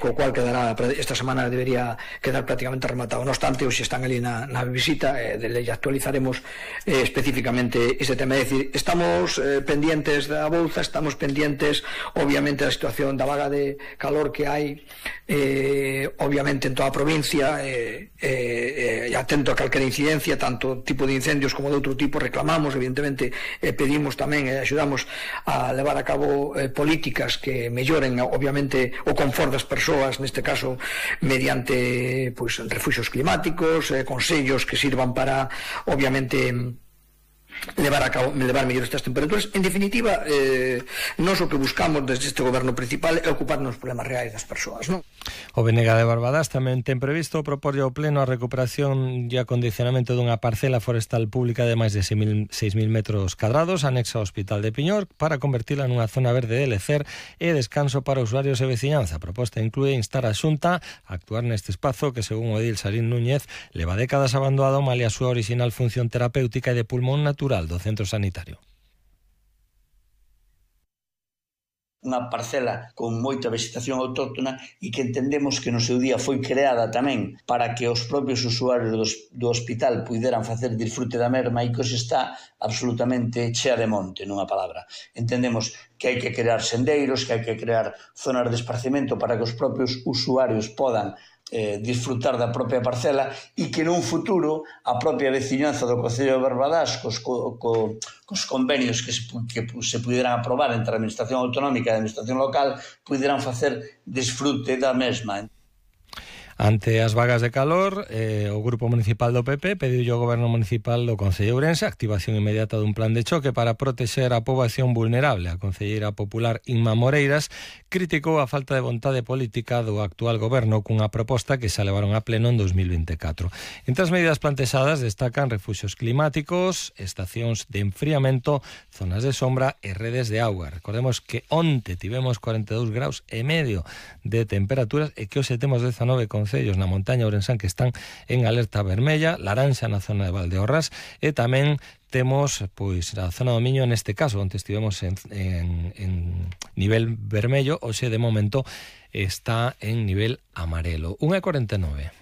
Co cual quedará esta semana, debería quedar prácticamente rematado. No obstante, hoxe están ali na visita, actualizaremos especificamente este tema. É dicir, estamos pendientes da bolsa, estamos pendientes obviamente da situación da vaga de calor que hai obviamente en toda a provincia, atento a calquera incidencia, tanto tipo de incendios como de outro tipo. Reclamamos, evidentemente, pedimos tamén e axudamos a levar a cabo políticas que melloren obviamente o confort das persoas, neste caso mediante refuxios climáticos, consellos que sirvan para obviamente levar mellor estas temperaturas. En definitiva, nós o que buscamos desde este goberno principal é ocuparnos dos problemas reais das persoas, non? O Benega de Barbadas tamén ten previsto proporlle ao pleno a recuperación e acondicionamento dunha parcela forestal pública de máis de 6.000 metros cadrados anexa ao Hospital de Piñor para convertila nunha zona verde de lecer e descanso para usuarios e veciñanza. A proposta inclúe instar a Xunta a actuar neste espazo que, según o edil Sarín Núñez, leva décadas abandonado malia a súa original función terapéutica e de pulmón natural do centro sanitario. Unha parcela con moita vegetación autóctona e que entendemos que no seu día foi creada tamén para que os propios usuarios do hospital puideran facer disfrute da merma e que hoxe está absolutamente chea de monte, nunha palabra. Entendemos que hai que crear sendeiros, que hai que crear zonas de esparcimento para que os propios usuarios podan disfrutar da propia parcela e que nun futuro a propia veciñanza do Concello de Barbadas cos convenios que se puderan aprobar entre a Administración Autonómica e a Administración Local puderan facer disfrute da mesma. Ante as vagas de calor, o Grupo Municipal do PP pediu ao Goberno Municipal do Concello de Ourense a activación inmediata dun plan de choque para protexer a poboación vulnerable. A concelleira popular Inma Moreiras criticou a falta de vontade política do actual goberno cunha proposta que se levaron a pleno en 2024. Entre as medidas plantexadas destacan refuxios climáticos, estacións de enfriamento, zonas de sombra e redes de auga. Recordemos que onte tivemos 42 graus e medio de temperaturas e que hoxe temos 19 concellos na montaña ourensán que están en alerta vermella, laranxa na zona de Valdeorras e tamén temos a zona do Miño neste caso, onde estivemos en nivel vermello, hoxe de momento está en nivel amarelo. 1:49.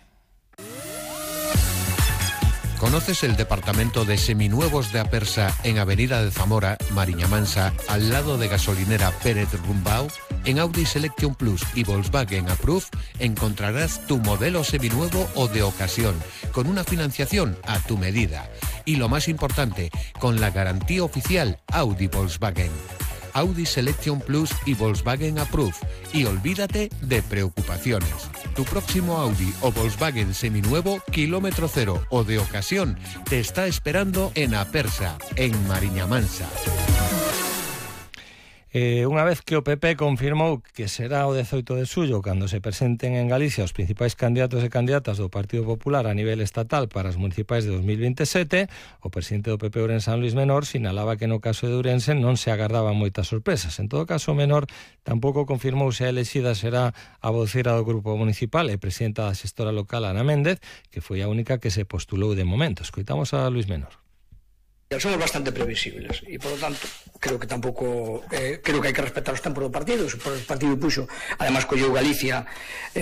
¿Conoces el departamento de seminuevos de Apersa en Avenida de Zamora, Mariña Mansa, al lado de gasolinera Pérez Rumbao? En Audi Selection Plus y Volkswagen Approve encontrarás tu modelo seminuevo o de ocasión, con una financiación a tu medida. Y lo más importante, con la garantía oficial Audi Volkswagen. Audi Selection Plus y Volkswagen Approve. Y olvídate de preocupaciones. Tu próximo Audi o Volkswagen seminuevo, kilómetro cero o de ocasión, te está esperando en Apersa, en Mariña Mansa. Unha vez que o PP confirmou que será o 18 de xullo cando se presenten en Galicia os principais candidatos e candidatas do Partido Popular a nivel estatal para as municipais de 2027, o presidente do PP ourensán Luís Menor sinalaba que no caso de Ourense non se agardaban moitas sorpresas. En todo caso, Menor tampouco confirmou se a elexida será a voceira do grupo municipal e presidenta da xestora local Ana Méndez, que foi a única que se postulou de momento. Escoitamos a Luís Menor. Somos bastante previsibles e, por lo tanto, creo que hai que respetar os tempos do partido. O partido puxo, además colleu Galicia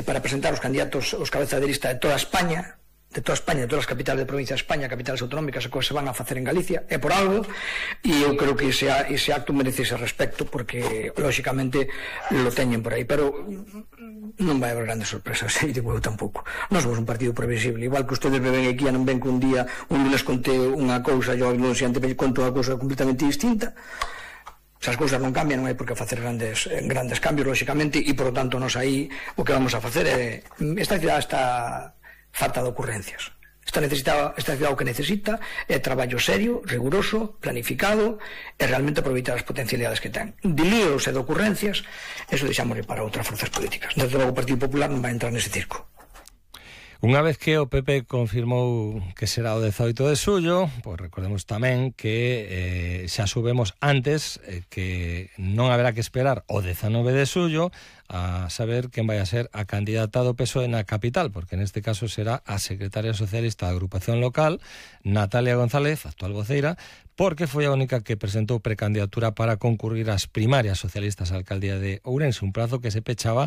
para presentar os candidatos, os cabezas de lista de toda España, de todas as capitales de provincia de España, capitales autonómicas, que se van a facer en Galicia, é por algo, e eu creo que ese acto merece ese respecto, porque, lógicamente, lo teñen por aí, pero non vai haber grandes sorpresas, e digo eu tampouco. Nós somos un partido previsible, igual que ustedes me ven aquí, non ven que un día les conté unha cousa, eu non sei, antes conto unha cousa completamente distinta. Se as cousas non cambian, non hai por que facer grandes cambios, lógicamente, e, por lo tanto, nós aí o que vamos a facer é... Esta cidade está falta de ocurrencias. Esta cidade o que necesita é traballo serio, riguroso, planificado e realmente aproveitar as potencialidades que ten. De líos e de ocurrencias, eso deixámosle para outras forzas políticas. Desde logo o Partido Popular non vai entrar nese circo. Unha vez que o PP confirmou que será o 18 de xullo, pois recordemos tamén que xa subemos antes que non haberá que esperar o 19 de xullo a saber quen vai a ser a candidata do PSOE na capital, porque neste caso será a secretaria socialista da agrupación local, Natalia González, actual voceira, porque foi a única que presentou precandidatura para concurrir ás primarias socialistas á alcaldía de Ourense, un prazo que se pechaba